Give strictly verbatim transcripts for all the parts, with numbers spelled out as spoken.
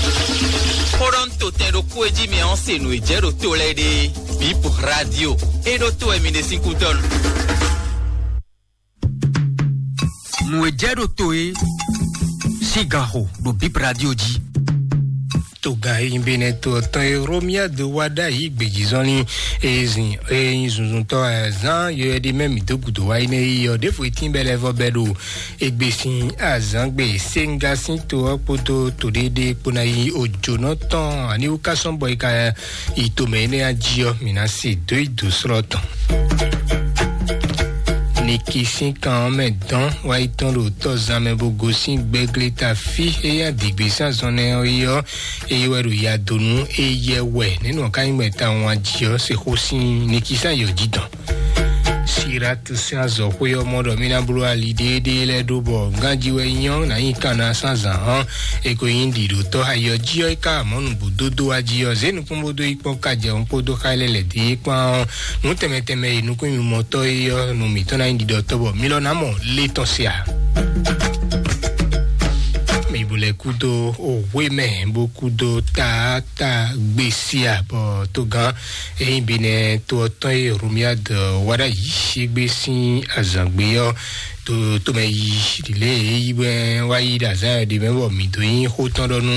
Xó ɖɔ un to tɛn ɖokpó e jí mi ɔ́ se nǔ e jɛ ɖo to lɛ́ɛ ɖe. Bip Radio. É ɖó to wɛ mi ɖe sín kútɔ́nu. Nǔ e jɛ ɖo to e sín gan xo ɖo Bip Radio jí. Togán e nyí Benɛto ɔ́ tɔn e Romia do wá ɖ'ayǐ gbějízɔ́nlin e zin e nyí zunzuntɔ́ azǎn yɔyɔ̌ ɖé mɛ mǐ dó gǔdo wá yi nɛ́ yi ɔ́, ɖěvo e tín bɛ́ lɛ́ɛ vɔ bɛ́ ɖo égbé sín azǎngbe. Senga sín to ɔ́ kpódó to ɖéɖé kpó ná yi ojónɔ tɔn aniwú ká sɔ́n bɔ é ka yi tomɛ énɛ́ jí ɔ́, mǐ ná se dó yi dǒ slɔ́ tɔn. Niki sín kan ɔ́ mɛ dɔn wá yi tɔn ɖo tɔzan mɛ bó gosín gbɛglé ta fí é yá dǐgbé sín azɔn nɛ́ ɔ́ yi ɔ́, eye wɛ ɖo ya dó nú éyɛ́ wɛ. Nɛ̌ nɔ ká nyí gbɛn tawun wá jí ɔ́, se xó sín Niki sín ayɔ jí dɔn. Siratu sín azɔ̌xwé ɔ́ mɔ ɖɔ mí ná bló ali ɖéeɖée lɛ́ɛ ɖó bɔ ganjí wɛ nyí ɔ́, nǎ nyi kanna sín azǎn hɔn. E ko nyí ɖiɖotɔ́ ayɔ jí ɔ́, é ka mɔ̌ nǔgbó dódó wá jí ɔ́, zě nukún bó dó yi kpɔ́n kajɛ ɔ́ kpódó xá lɛ́ lɛ̌ dé kpán ɔ́, nǔ tɛnmɛ tɛnmɛ e nukúnmimɔtɔ́ é ɔ́, nú mǐtɔn ná nyí ɖiɖɔtɔ́ bɔ mí lɔ ná mɔ lé tɔn se a? Mi bo lɛ́ kúdó òwe mɛ bó kúdó taátagbe sí a, bɔ tógán e nyí Benɛto ɔ́ tɔn e Romiad wá ɖ'ayǐ égbé sín azǎngbe ɔ́, to tomɛ yi lě e é yi wɛ wá yi ɖo azǎn ɖé mɛ bɔ mǐ dó nyí xó tɔn ɖɔ nú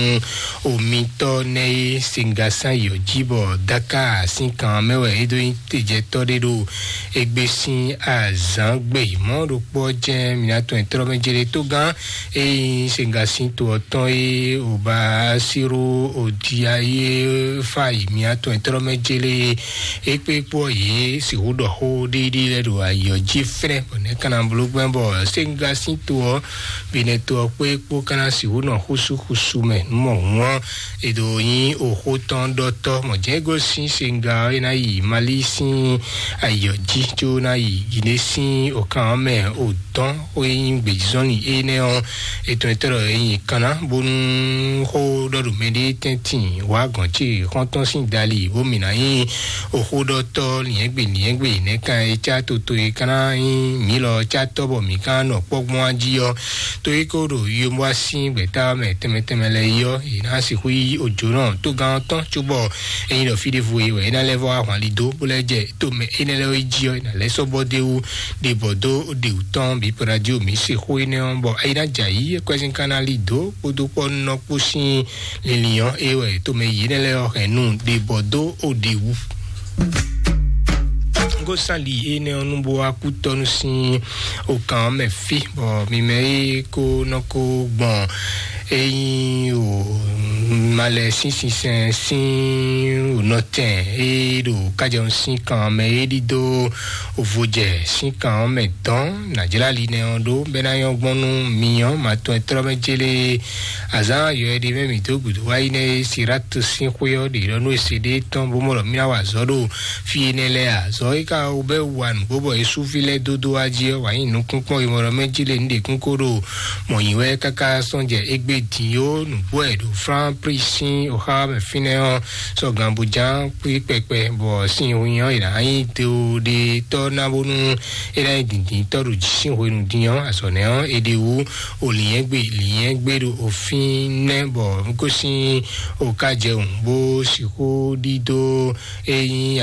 omitɔ́ nɛ́ e Sengasán yɔ jí bɔ Dakaa sín kan mɛ wɛ é dó nyí tejɛtɔ́ ɖé ɖo égbé sín azǎngbe. Mɔ̌ ɖokpó ɔ́ jɛ́n mǐ ná tɔn tlɔ́ mɛ jɛ́ɖɛ́ tógán e nyí Sengasín to ɔ́ tɔn e Oba Asiro Odia e fa yi mǐ ná tɔn tlɔ́ mɛ jɛ́ɖɛ́ é kpé kpó ɔ́, yě sixú ɖɔ xó ɖéɖé lɛ́ɛ ɖo ayǐ ɔ́ jí fínɛ́, bɔ nɛ̌ ka ná bló gbɛn bɔ Sengasín to ɔ́, Benɛto ɔ́ kpé kpó ka ná sixú nɔ xúsúxúsú mɛ nú mɔ̌hun ɔ́, è ɖo nyí oxó tɔn ɖɔtɔ́. Mɔ̌ jɛ́n é gosín Senga ɔ́, é ná yi Mali sín ayǐ ɔ́ jí, có ná yi Giné sín okán ɔ́ mɛ o dɔn xó e nyí gbějízɔ́nlin énɛ́ ɔ́, è tɔn è tɔ́ ɖɔ é nyí kanna, bónú xó ɖɔ ɖo mɛɖée tɛ́ntin wǎ gɔ̌n ce xɔ́ntɔn sín dali, bó mǐ ná nyí oxóɖɔtɔ́ liɛ̌ngbè liɛ̌ngbè nɛ̌ kan e cá toto e ka ná nyí mǐ lɔ cá tɔ́ bɔ mǐ ka nɔ kpɔ́ gbɔn á jí ɔ́, tó é ko ɖo yomɔ wá sín gbɛ̌ta ɔ́ mɛ tɛnmɛ tɛnmɛ lɛ́ɛ yi ɔ́, yě ná sixú yí ojǒnɔ tógán ɔ́ tɔn, cóbɔ é nyí ɖɔ fí ɖěvo e wɛ é ná lɛ́ vɔ wá hwan li dó, bó lɛ́ jɛ tomɛ énɛ́ lɛ́ɛ jí ɔ́, é ná lɛ́ sɔ́ bɔ d'é wú ɖe bɔ dó ɖe wǔ tɔn bǐ Pɛladiyo mǐ se xó énɛ́ ɔ́, bɔ ayi ná jɛ ayǐ, é kɔ́ sín ká ná lí dǒ kpódó kpɔ́ nɔ kpó sín linlin ɔ́, é wɛ tomɛ yě nɛ́ lɛ́ɛ ɔ́ hɛn nú ɖe bɔ dó o ɖe wú. Gosali énɛ́ ɔ́ nú bó wá kú tɔ́nu sín okán ɔ́ mɛ fí, bɔ mi mɛ é kó nɔ kó gbɔn é nyí o malɛ sín sinsɛn sín o nɔtɛn e ɖo kájɛun sín kan mɛ é ɖidó vojɛ sín kan ɔ́ mɛ dɔn. Nàjlá linɛ ɔ́ ɖó bɛ́ ná nyɔ́ gbɔn nú mi ɔ́, ma tɔn e tlɔ́ mɛ célé azǎn yɔ e ɖi mɛ mǐ dó gǔdo wá yi nɛ́ e Siratu sín xwé ɔ́ ɖe ɖɔ nú e se ɖé tɔn bó mɔ ɖɔ mí ná wa azɔ̌ ɖo fí énɛ́ lɛ́ɛ ǎ. Azɔ̌ e ka wú bɛ́ wa nǔgbó bɔ é sú fí lɛ́ɛ dó dó wá jí ɔ́, wǎ nyi nukúnkpɔ́n e mɔ ɖɔ mɛ jí lě un ɖe kún kó ɖo mɔ̌ nyi wɛ káká sɔ́ jɛ égbé din ó, nǔgbó wɛ ɖo Franpli sín oxá mɛ fínɛ́ ɔ́, sɔ́ ganboján kpí kpɛkpɛ, bɔ sin hun ɔ́, è nǎ nyí do ɖe tɔ́ ná bónú é ná nyí dǐndín tɔ́ ɖo jǐ sín hwenu dín ɔ́, azɔ̌ nɛ́ ɔ́, è ɖe wú o lǐnyɛ́gbe lǐnyɛ́gbe ɖo òfin nɛ́, bɔ un ko sín o ka jɛ wǔn bó sixú ɖídó é nyí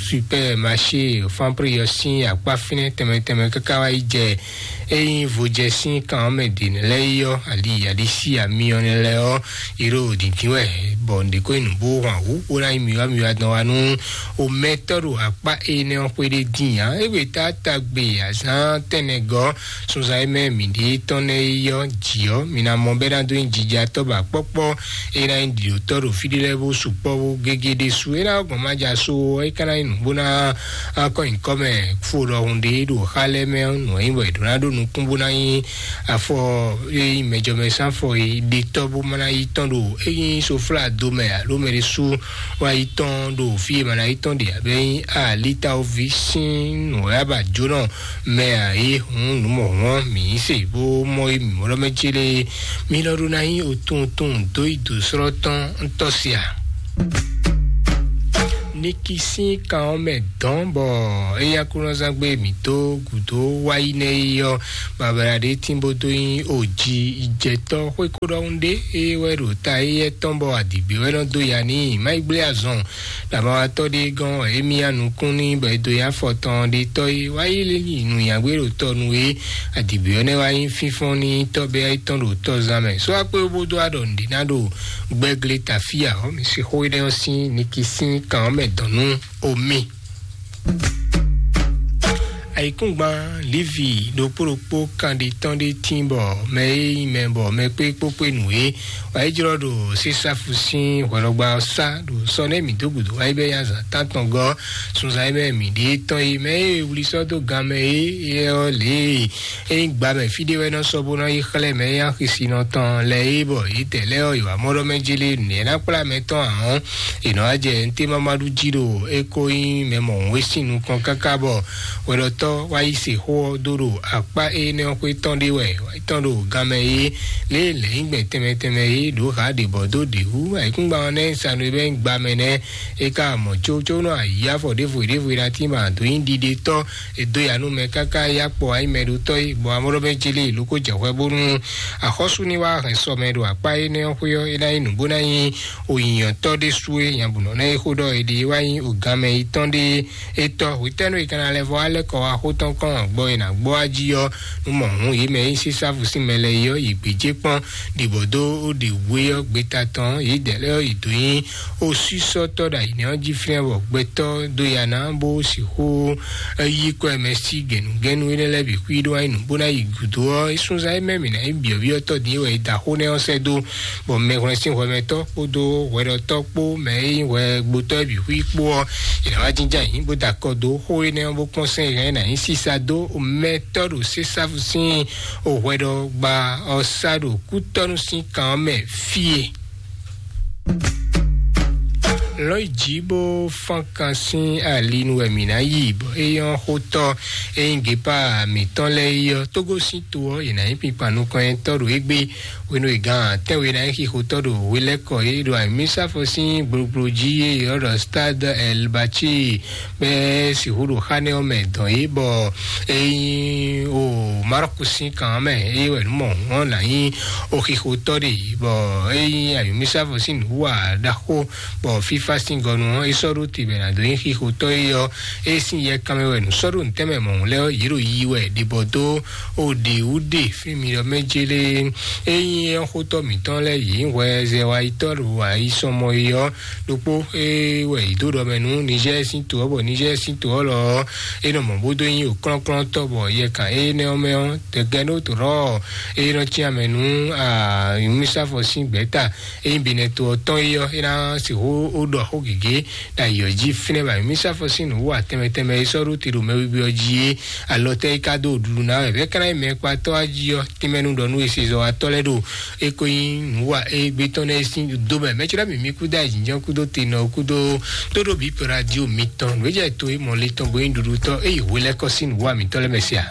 supɛ́maṣé Franpli ɔ́ sín akpá fínɛ́ tɛnmɛ tɛnmɛ káká wá yi jɛ é nyí vojɛ sín kan ɔ́ mɛ ɖě lɛ́ɛ yi ɔ́, ali ali sí amyɔ lɛ́ɛ ɔ́, yi ɖo dǐndín wɛ, bɔ un ɖě ko nyi nǔ bó hwan wǔ bó ná nyí myɔ myɔ dɔn wá nú omɛtɔ́ ɖo akpá énɛ́ ɔ́ xwé ɖé dín ǎ. Égbé ta tagbe azǎn tɛnɛgɔ́ sunzan e mɛ mǐ ɖe tɔn nɛ́ yi ɔ́ jǐ ɔ́, mi ná mɔ bɛ́ ná dó nyí jijatɔ́ ba kpɔ́kpɔ́ e ná nyí ɖiɖotɔ́ ɖo fí ɖé lɛ́ɛ bó sukpɔ́ bó gégé ɖésú. É ná gbɔn má ja só ɔ́, é ka ná nyí nǔ bó ná kɔ nyǐkɔ mɛ fó ɖɔhun ɖé ɖo xá lɛ́ɛ mɛ ɔ́, nǔ e nyí bɔ è ɖǒ ná ɖó nukún bó ná nyí afɔ e nyí mɛjɔmɛ sín afɔ e ɖe tɔ́ bó ma ná yi tɔn ɖo é nyí soflá do mɛ alo mɛ ɖé sú wá yi tɔn ɖo fí e ma ná yi tɔn ɖe abɛ nyí alitawoví sín nǔ e aba jónɔ mɛ ǎ é hǔn nǔ mɔ hɔn mǐ se bó mɔ é mǐ mɔ ɖɔ mɛ célé mí lɔ ɖó ná nyí otun otun dó yi dǒ slɔ́ tɔn ntɔ́ sia. Niki sín kan ɔ́ mɛ dɔn bɔ éyɛ́ Aklúnɔzán gbé mǐ dó gǔdo wá yi nɛ́ é ɔ́, babala ɖé tín bó dó nyí òji ijɛtɔ́ xwé kó ɖɔhun ɖé é wɛ ɖo ta éyɛ́ tɔn bɔ adǐgbé wɛ nɔ dó ya n'i má yi gblé azɔn. Ɖamawatɔ́ ɖé gɔ́n émí ya nukún n'i bɔ é dó nyi afɔ tɔn ɖé tɔ́ é wá yi lé nyi nǔnyagbé ɖo tɔnu é. Adǐgbé ɔ́ nɛ́ wá nyí fínfɔ́n n'i tɔ́ bɛ́ yi tɔn ɖo tɔzán mɛ só akpé bó dó aɖɔ nǔɖé ná ɖo gbɛ́glé tafíya ɔ́, mi se xó énɛ́ ɔ́ sín Niki sín kan ɔ́ mɛ dɔn nú omi. Ayǐkúngban Livi ɖokpó ɖokpó kanɖi tɔn ɖé tín bɔ mɛ e nyí mɛ bɔ mɛ kpé kpókpé nǔ é wǎ yi jlɔ́ ɖo Sísáfu sín hwɛlɔgba ɔ́ sá ɖo sɔ nɛ́ mǐ dó gǔdo wá yi bɛ́ nyi azǎn tántɔn gɔ́ sunzan e mɛ mǐ ɖe tɔn e mɛ e wlí sɔ́ dó gan mɛ é é ɔ́ lě e é nyí gba mɛ fí ɖé wɛ nɔ sɔ́ bó nɔ yi xlɛ́ mɛ e nyí axisinɔ tɔn lɛ́ɛ é bɔ yě tɛ lɛ́ɛ ɔ́ yě wá mɔ ɖɔ mɛ jélé nǔ e ná kplá mɛ tɔn ǎ ɔ́, è nɔ wá jɛ ntɛ́mamaɖu jí ɖo é ko nyí mɛ mɔ̌hun é sín nukɔn káká bɔ hwɛɖɔtɔ́ wá yi se xó ɔ́ dó ɖo akpá énɛ́ ɔ́ xwé tɔn ɖé wɛ wá yi tɔn ɖo gan mɛ é lě e lɛ̌nyigbɛn tɛnmɛ tɛnmɛ é ɖǒ hǎ ɖě bɔ dó ɖě wú ayǐkúngban ɔ́ nɛ́ sanu e bɛ́ nyí gba mɛ nɛ́ é ka mɔ có có nɔ ayǐ afɔ ɖěvo ɖěvo e ná tín ba dó nyí ɖiɖe tɔ́ è dó ya nú mɛ káká yá kpɔ ayí mɛ ɖo tɔ́ yi gbɔn amɔ́ɖɔmɛ jí lé lóko jɛ hwɛ bónú axɔ́sú ní wá hɛn sɔ mɛ ɖo akpá énɛ́ ɔ́ xwé ɔ́ é ná nyí nǔ bó ná nyí òyìnyɔ́tɔ́ ɖésú é nya bǔ nɔ ná yi xó ɖɔ è ɖe wá nyí ògánmɛ yi tɔn ɖé é tɔ́ hwetɛ́nu è ka ná lɛ́ vɔ alɛ́ kɔ wá xó tɔn kɔn gbɔ è nǎ gbɔ wá jí ɔ́ nú mɔ hǔn yě mɛ nyí sísáfu sín mɛ lɛ́ɛ yi ɔ́ yi gbějé kpɔ́n ɖibɔ dó ó ɖi wé ɔ́ gbeta tɔn yě dɛ lɛ́ ɔ́ yi dǒ nyí ó sísɔ́tɔ́ ɖo ayǐnɛ́ ɔ́ jí flɛ́n bɔ gbɛtɔ́ dó ya ná bó sixú yí kɔ ɛ mɛ sí gɛ̌nugɛ́nu énɛ́ lɛ́ɛ bǐ xwí ɖó wá yi nǔ bó ná yi gǔdo ɔ́, é súnzan é mɛ mǐ ná nyí byɔ̌byɔ́tɔ́ din é wɛ é da xó nɛ́ ɔ́ sɛ́ dó, bɔ mɛhwlɛ́nsínhwɛmɛtɔ́ kpódó hwɛɖɔtɔ́ kpó mɛ e nyí hwɛ gbotɔ́ é bǐ xwí kpó ɔ́, è nǎ wá jínjɔ́n ayǐ bó da akɔ dó xó énɛ́ ɔ́ bó kpɔ́n sɛ́n hɛn é ná nyí sísá dó mɛtɔ́ ɖo sésáfu sín hwɛɖɔgba ɔ́ sá ɖo kútɔ́nú sín kan ɔ́ mɛ fí e. Lɔ̌ yi jǐ bó fán kan sín ali nu wɛ mǐ ná yi, bɔ é nyɔ́ xótɔ́ e nyí gěpa mǐtɔn lɛ́ɛ yi ɔ́, Tógó sín to ɔ́, yě ná nyí pinkpan nukɔn nyɛtɔ́ ɖo égbé. Hwenu e gan tɛ́nwe ná nyí xixotɔ́ ɖo hwelɛ́kɔ é ɖo ayǐmísafɔ sín gblogblo jí e è ylɔ́ ɖɔ Stade El Bachi bɛ́ sixú ɖo xá nɛ́ ɔ́ mɛ dɔn é, bɔ é nyí o Marɔku sín kan ɔ́ mɛ é wɛ nǔ mɔ hɔn ná nyí o xixotɔ́ ɖe, bɔ é nyí ayǐmísafɔ sín nǔwa ɖaxó, bɔ fífá sín gɔnu ɔ́ é sɔ́ ɖó te bɔ è nǎ dó nyí xixotɔ́ é ɔ́, é sín yɛ kanmɛ wɛ nǔ sɔ́ ɖó nǔtɛ́mɛ mɔ̌hun lɛ́ɛ ɔ́, yě ɖo yiyi wɛ ɖě bɔ dó o ɖě wú ɖe fí mi ɖɔ mɛ jélé. É nyí é xótɔ́ mǐtɔn lɛ́ɛ yě nyí hwɛ zɛ wayitɔ́ ɖo ayisɔmɔ é ɔ́, ɖokpó é wɛ yě dó ɖɔ mɛ nú Nizɛ́ɛ sín to ɔ́, bɔ Nizɛ́ɛ sín to ɔ́ lɔ ɔ́, é nɔ mɔ bó dó nyí òklɔ́nklɔ́ntɔ́, bɔ yɛ kan énɛ́ ɔ́ mɛ ɔ́, tɛgɛ́nótɔ́ ɔ́, é nɔ cyán mɛ nú ayǐmísafɔ sín gbɛ̌ta. Ényí Benɛto ɔ́ tɔn é ɔ́, é ná sixú ó ɖɔ xó gěgé ɖo ayǐ ɔ́ jí fínɛ́ bɔ ayǐmísafɔ sín nǔ wa tɛnmɛ tɛnmɛ é sɔ́ ɖó te ɖo mɛwigbí ɔ́ jí é, alɔ tɛ́ é ka dó ɖuɖu ná wɛ? Bɛ́ ka ná nyí mɛkpatɔ́ wá jí ɔ́, tínmɛ nú ɖɔ nú esezɔwatɔ́ lɛ́ɛ ɖo é ko nyí nǔ wa égbé tɔn lɛ́ɛ sín dó mɛ. Mɛ̌ cɔ́ ná mǐmí kúdó ayǐjínjɔ́n kúdó tenɔ kúdó tó ɖó bǐ radio mitɔn nǔ é jɛ to é mɔ le tɔn bó nyí ɖuɖutɔ́ é yi hwelɛ́kɔ sín nǔ wa mǐtɔn lɛ́ɛ mɛ se a?